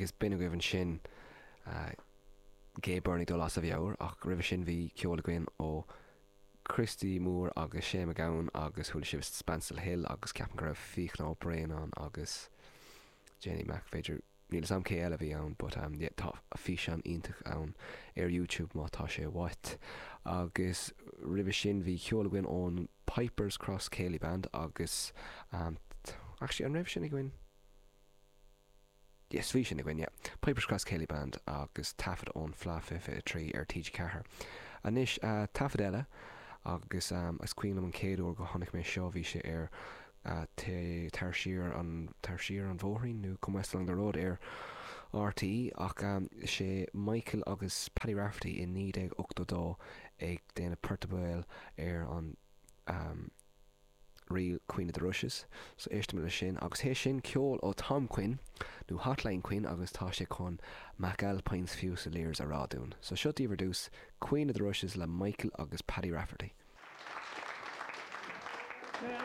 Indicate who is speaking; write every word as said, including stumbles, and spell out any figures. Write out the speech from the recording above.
Speaker 1: Agus b'in agaibh ansin uh, Gay Byrne ag dul as a mheabhair ach roimhe sin bhí ceol againn ó Christy Moore agus Shane MacGowan agus chuala sibh Spancil Hill agus ceapaim go raibh Fiachna Ó Braonáin ann agus Jenny Mac b'fhéidir níl am cé eile bhí ann, but um, yeah, tá físeán iontach ann ar YouTube má tá sé uait. Agus roimhe sin bhí ceol againn ón Pipers Cross Céilí Band agus um, actually an raibh sin againn? Yes, bhí sin againn, yeah. Pipers Cross Céilí Band agus taifead ón Fleadh fiche trí ar TG Ceathair. Anois uh, taifead eile agus um, is cuimhin liom an chéad uair go chonaic mé seo bhí sé ar uh, tar siar an tar siar an bhóithrín nó Come West Along the Road ar RTÉ ach um, sé Michael agus Paddy Rafferty in naoi déag ochtó dó ag déanamh port béil ar an um, ríl Queen of the Rushes, so éistim le sin agus é sin ceol ó Tom Quinn nó Hotline Quinn agus tá sé chun McAlpine's Fusiliers a rá dúinn. So seo daoibh ar dtús Queen of the Rushes le Michael agus Paddy Rafferty.